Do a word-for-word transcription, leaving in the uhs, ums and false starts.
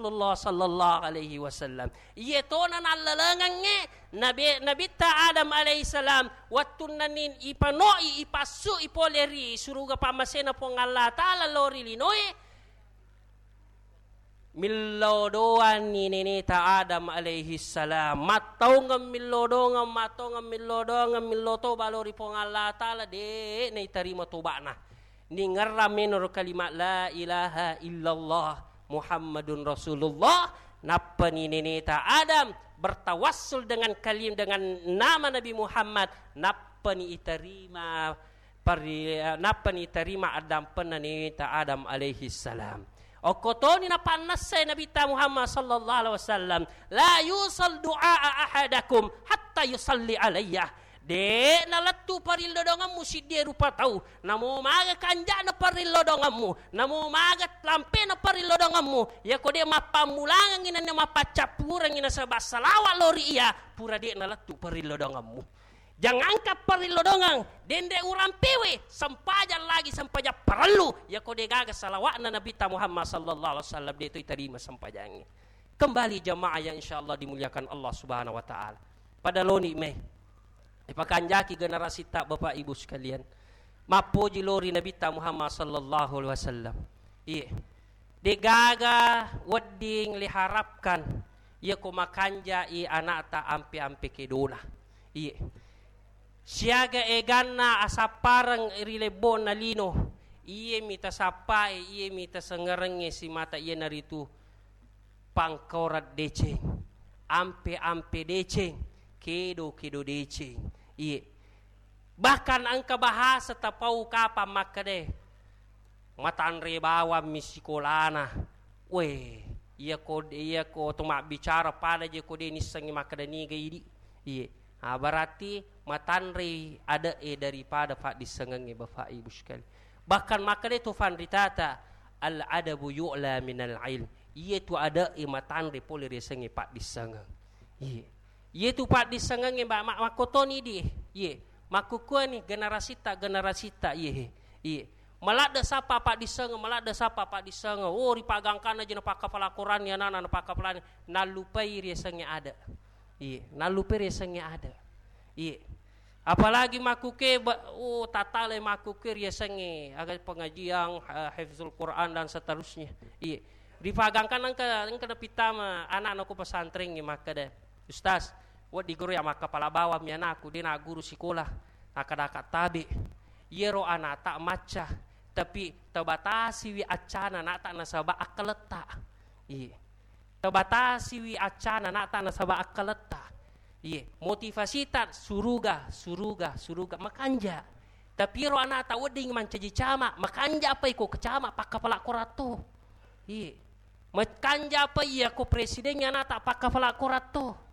Rasulullah sallallahu alaihi wasallam. Iye tona nallalengengnge Nabi, Nabitta Adam alaihi salam, wettunna ni ipanoi, ipassu i pole ri suruga pammasena Puang Allah Ta'ala lao ri linoe, millau doanni neneta Adam alaihi salam. Mattaungeng millau dongeng, mattaungeng millau dongeng, millau toba lao ri Puang Allah Ta'ala, de' naitarima toba'na. Ningerrang menoro kalimat la ilaha illallah Muhammadun Rasulullah, nappani neneta Adam bertawassul dengan kalim-, dengan nama Nabi Muhammad, nappani iterima parri-, nappani iterima addampenna neneta Adam alaihi salam. Okko toni napannessai Nabitta Muhammad sallallahu alaihi wasallam, la yusal du'a ahadakum hatta yusalli alayya. De' nalettu parillodongemmu siddie rupa tau, namo maga kanja'na parillodongemmu, namo maga lampena parillodongemmu, yako de' mappammulangengngi nennia mappaccappurengngina saba' salawa' lao ri iya, pura de' nalettu parillodongemmu. Jangankan parillodongeng, denre urampewe, sempajang lagi, sempajang parellu, yako de' gaga salawa'na Nabitta Muhammad sallallahu alaihi wasallam, de' to itarima sempajangnge. Kembali jamaah yang insyaallah dimuliakan Allah Subhanahu wa Ta'ala. Pada loni mai. Ipakanjaki generasita, Bapak Ibu sekalian. Mappoji lao ri Nabitta Muhammad sallallahu alaihi wasallam. Iye. De'gaga wedding liharapkan iyako makanjai ana'ta ampe-ampe kedona. Iye. Siaga eganna asappareng ri lebbona lino, iyemi tasappae, iyemi tasengerengnge simata, iyanaritu pangkaurang deceng, ampe-ampe deceng, kedo-kedo deceng. Iye. Bahkan engka bahasa tapau kapang makkedae, matanre bawammi sikolana. Weh, iyako, iyako to mabbicara pada je ko de' nissengngi makkeda niga idi. Iye. Ah, berarti matanrei ade'e daripada paddissengengnge, Bapak Ibu sekalian. Bahkan makkeda tu fanritata, al adabu yu'la minal ilm. Iyetu ade'e matanre pole riasengnge paddissengeng. Iye. Iyetu paddissengengnge, Mbak, ma-, makkotoni di. Iye. Makkukkuani generasita, generasita, iye. Iye. Maladde sappa paddissengeng, maladde sappa paddissengeng. Oh, ripagangkanna je napakkapala Quran, ya nana napakkapalani. Nallupai riasengnge ade. Iye. Nallupai riasengnge ade. Iye. Apalagi makkuke ba-, oh, tatalai makkuke riasengnge aga pengajian, eh, hifzul Quran dan seterusnya. Iye. Ripagangkanna engka, engka napittama anakna ko pesantrengnge makkeda, "Ustaz, wedding guru ya makkapala bawammi anakku, de' nagguru sikola, akkadaka tabe'." Iyaro anakta macca, tapi tabatasiwi accana anakta nasaba akkaletta. Iye. Tabatasiwi accana anakta nasaba akkaletta. Iye. Motivasita suruga, suruga, suruga, makanja. Tapi iyaro anakta wedding mancaji camat, makanja apa iko ke camat pakkapala koratto. Iye. Makanja apa iya ko presiden anakta pakkapala koratto.